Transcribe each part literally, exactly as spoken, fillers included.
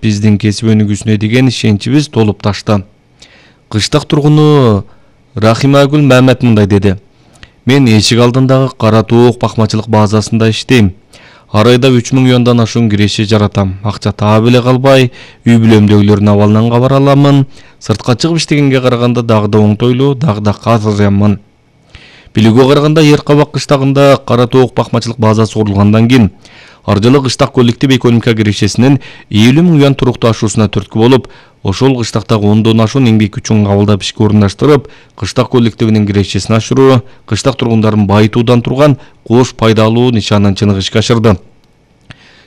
биздин кесип өнүгүүсүнө деген ишеничибиз толуп ташты. Кыштак тургуну Рахимагүл Мамет мындай деди. Мен эшик алдындагы Кара Тоок бакмачылык базасында иштейм. Ар айда үч миң юандан ашуун киреше жаратам. Акча таап эле калбай, үй бүлөмдөгүлөрдүн абалынан кабар аламын. Сыртка чыгып иштегенге караганда дагы да оңтойлуу, дагы да казырямын. Билүүгө караганда Ер Кабак кыштагында Кара Тоок бакмачылык базасы курулгандан кийин ар жылы кыштак коллектив экономика кирешесинин элүү миң юан туруктуу ашуусуна түрткү болуп, ошол кыштактагы ондон ашуун эмгек күчүн кабылдап ишке орундаштырып, кыштак коллективинин кирешесин ашыруу, кыштак тургундарын байытуудан турган кош пайдалуу нишанын чыныгы ишке ашырды.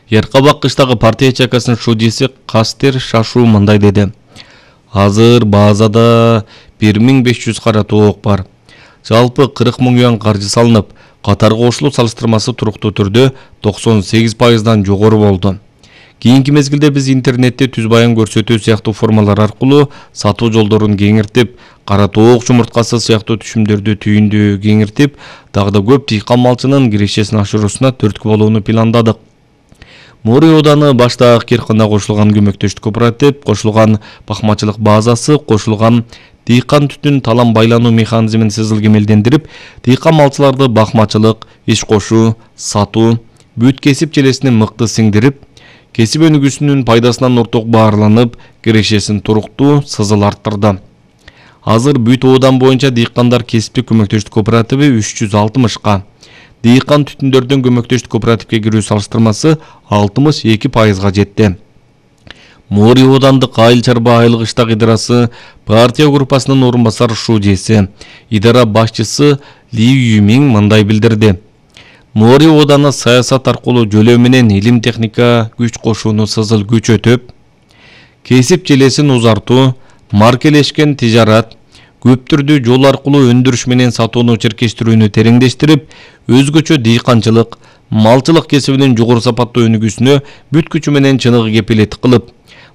Ер Кабак кыштагы партия чакасынын шудиси Кастер Шашу мындай деди. Азыр базада бир миң беш жүз кара тоок бар. Жалпы кырк миң юан каржы салынып, катар кошулуу салыштырмасы туруктуу түрдө токсон сегиз пайыздан жогору болду. Кийинки мезгилде биз интернетте түз баян көрсөтүү сыяктуу формалар аркылуу сатуу жолдорун кеңиртип, кара тоок жумурткасы сыяктуу түшүмдөрдү түйүндү кеңиртип, дагы да көп дыйкан малчынын кирешесин ашыруусуна түрткү болууну пландадык. Мори ооданы башта Акеркана кошулган көмөктөштүк кооператив, кошулган бакмачылык базасы, кошулган дыйкан түтүн талам байлануу механизмин сызыл кемелдендирип, дыйкан малчыларды бакмачылык, иш кошуу, сатуу, бүт кесип желесине мыкты сиңдирип, кесип өнүгүүсүнүн пайдасынан орток баарланып, кирешесин туруктуу, сызыл арттырды. Азыр бүт оодан боюнча дыйкандар кесиптик көмөктөштүк кооперативи үч жүз алтымышка, дыйкан түтүндөрдөн көмөктөштүк кооперативге кирүү салыштырмасы алтымыш эки пайызга жетти. Мори оодандык айыл чарба айыл кыштак идарасы партия группасынын орун басар шудиси, идара башчысы Ли Юмиң мындай билдирди. Мори ооданы саясат аркылуу жөлөө менен илим техника күч кошууну сызыл күчөтүп, кесип желесин узартуу, маркелешкен тижарат, көп түрдүү жол аркылуу өндүрүш менен сатууну черкештирүүнү тереңдештирип, өзгөчө дыйканчылык, малчылык кесибинин жогору сапаттуу өнүгүүсүнө бүт күчү менен чыныгы кепилеттик кылып,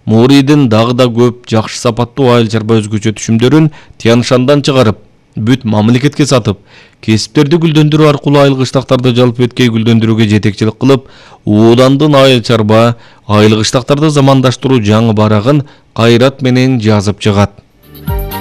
Моридин дагы да көп жакшы сапаттуу айыл чарба өзгөчө түшүмдөрүн Тяншандан чыгарып, бүт мамлекетке сатып, кесиптерди гүлдөндүрүү аркылуу айыл кыштактарды жалпы өткөй гүлдөндүрүүгө жетекчилик кылып, оодандын айыл чарба айыл кыштактарды замандаштыруу жаңы барагын кайрат менен жазып чыгат.